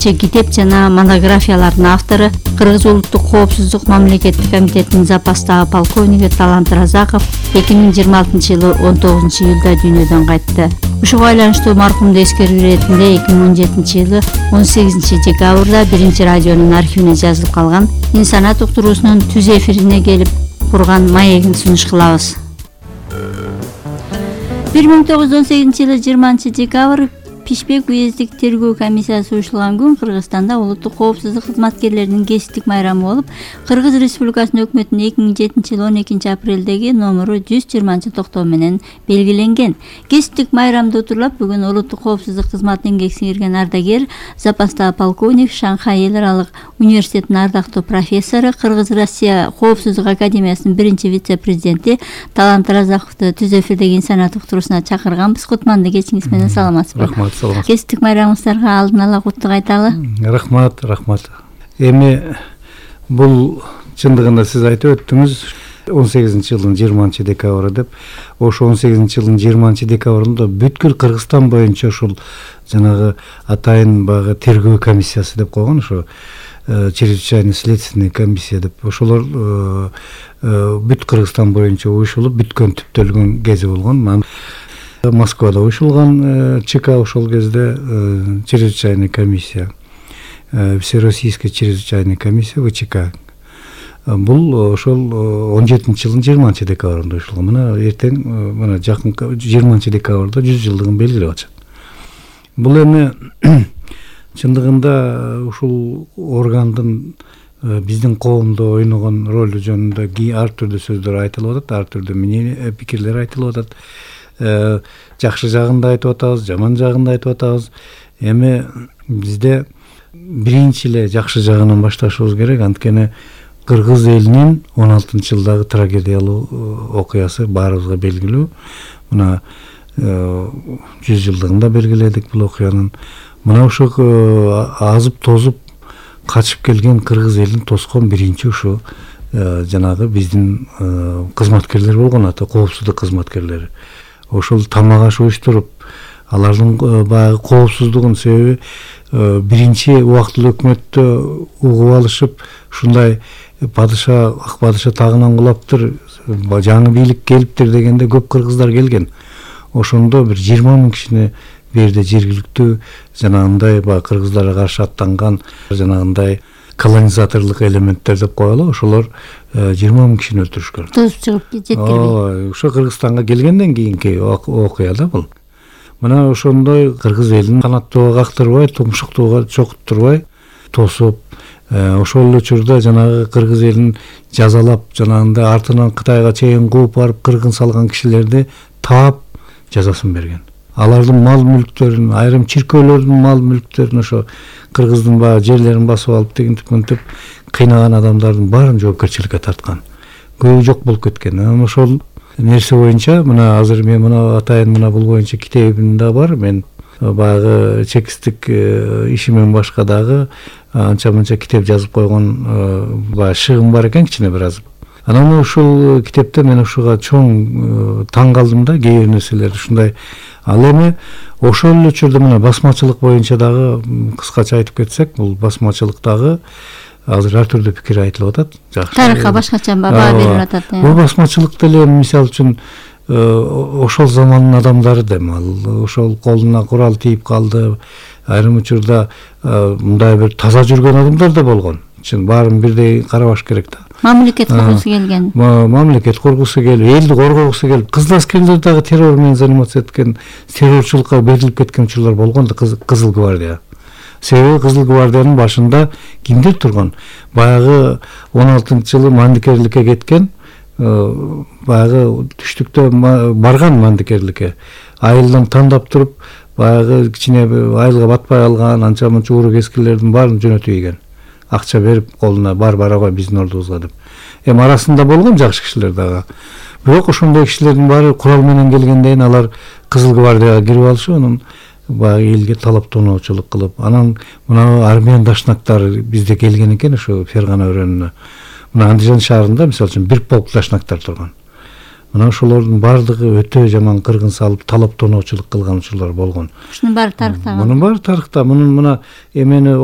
нече китеп жана монографиялардын автору, Кыргыз улуттук коопсуздук мамлекеттик комитетинин запастагы полковниги Талант Разаков 2026-жылы 19-июлда дүйнөдөн кайтты. Ушуга байланыштуу маркумду эскерүү иретинде 2017-жылы 18-декабрда 1-радионун архивине жазылып калган «Инсанат» уктуруусунун түз эфирине келип курган маегин сунуш кылабыз. 1918-жылы 20-декабрь Пишпек уездик тергөө комиссиясы уюштурулган күн Кыргызстанда улуттук коопсуздук кызматкерлеринин кесиптик майрамы болуп, Кыргыз Республикасынын өкмөтүнүн 2007-жылы 12 апрелдеги номеру 120-токтоо менен белгиленген. Кесиптик майрамды утурлап бүгүн улуттук коопсуздук кызматына эмгек сиңирген ардагер, запастагы полковник, Шанхай эл аралык университетинин ардактуу профессору, Кыргыз-Россия коопсуздук академиясынын 1-вице-президенти Талант Разаковду түз эфирдеги «Инсанат» уктуруусуна чакырганбыз. Кутманды кечиңиз менен саламатсызбы? Рахмат. Кесиптик майрамыңыздарга алдын ала куттук айталы. Рахмат. Эми бул чындыгында сиз айтып өттүңүз 18-жылдын 20-декабры деп. Ошо 18-жылдын 20-декабрында бүткүл Кыргызстан боюнча ушул жанагы атайын багы тергөө комиссиясы деп койгон, ошо чрезвычайный следственный комиссия деп. Ошолор бүт Кыргызстан боюнча уюшулуп бүткөн түптөлгөн кези болгон. Москвада уюшулган ЧК ошол кезде чрезвычайный комиссия, Всероссийская чрезвычайная комиссия ВЧК. Бул ошол 17-жылдын 20-декабрында уюшулган. Мына эртең мына жакын 20-декабрда 100 жылдыгын белгилеп атышат. Бул эми чындыгында ушул органдын биздин коомдо ойногон ролу жөнүндө ар түрдүү сөздөр айтылып атат, ар түрдүү пикирлер айтылып атат. Жакшы жагын да айтып атабыз, жаман жагын да айтып атабыз. Эми бизде биринчи эле жакшы жагынан башташыбыз керек. Анткени Кыргыз элинин 16-жылдагы трагедиялуу окуясы баарыбызга белгилүү. Мына 100 жылдыгында белгиледик бул окуянын. Мына ушу азып тозуп качып келген Кыргыз элин тоскон биринчи ушу жанагы биздин кызматкерлер болгон, ата коопсуздук кызматкерлери. Ошол тамак аш уюштуруп, алардын баягы коопсуздугун себеби биринчи убактылуу өкмөттө угуп алышып, ушундай ак падыша тагынан кулаптыр, жаңы бийлик келиптир дегенде көп кыргыздар келген. Ошондо бир 20 000 кишини берде жергиликтүү жанагындай баягы кыргыздарга каршы аттанган жанагындай колонизаторлук элементтер деп коелу, ошолор 20 000 кишини өлтүрүшкөн. Тосуп чыгып жеткирбей. Ошо Кыргызстанга келгенден кийинки окуя да бул. Мына ошондой Кыргыз элин канаттууга кактырбай, тумшуктууга чокуттурбай тосуп, ошол учурда жанагы Кыргыз элин жазалап, жанагындай артынан Кытайга чейин кууп барып кыргын салган кишилерди таап жазасын берген. Алардын мал мүлктөрүн, айрым чиркөөлөрдүн мал мүлктөрүн, ошо Кыргыздын баягы жерлерин басып алып тигинтип кыйнаган адамдардын баарын жоопкерчиликке тарткан. Көбү жок болуп кеткен. Ошол нерсе боюнча мына азыр мен мына атайын мына бул боюнча китебим да бар. Мен баягы чекисттик ишимен башка дагы анча-мынча китеп жазып койгон баягы шыгым бар экен, кичине бир аз. Анан ушул китепте мен ушуга чоң таң калдым да, кээ бир нерселер ушундай. Ал эми ошол учурда мына басмачылык боюнча дагы кыскача айтып кетсек, бул басмачылыктагы азыр ар түрдүү пикир айтылып атат. Жакшы. Тарыхка башкача баа берип атат. Бул басмачылык деле мисалы үчүн ошол замандын адамдары дем ал, ошол колуна курал тийип калды. Айрым учурда мындай бир таза жүргөн адамдар да болгон. Чын баарын бирдей карабаш керек да. Мамлекет кургусу келген. Мамлекет кургусу келип, элди коргогусу келип, кызыл аскерлер дагы террор менен заниматься эткен, террорчулукка берилип кеткен учурлар болгон да, Кызыл гвардия. Себеби Кызыл гвардиянын башында кимдер турган? Баягы 16-жылы мандикерликке кеткен, баягы түштүктө барган мандикерликке. Айылдан тандап туруп, баягы кичине айылга батпай алган, анча-мынча уру кескилердин баарын жөнөтүп ийген. Акча берип колуна барабай биздин ордубузга деп. Эми арасында болгон жакшы кишилер дагы. Бирок ошондой кишилердин баары курал менен келгенден алар Кызыл гвардияга кирип алышып, анан баягы элге талап тоноочулук кылып, анан мына армян дашнактары бизде келген экен, ошо Фергана өрөөнүнө. Мына Андижан шаарында мисалы үчүн бир полк дашнактар турган. Мына ошолордун баардыгы өтө жаман кыргын салып, талап тоноочулук кылган учурлар болгон. Ушунун баары тарыхта. Мунун баары тарыхта. Мына эмени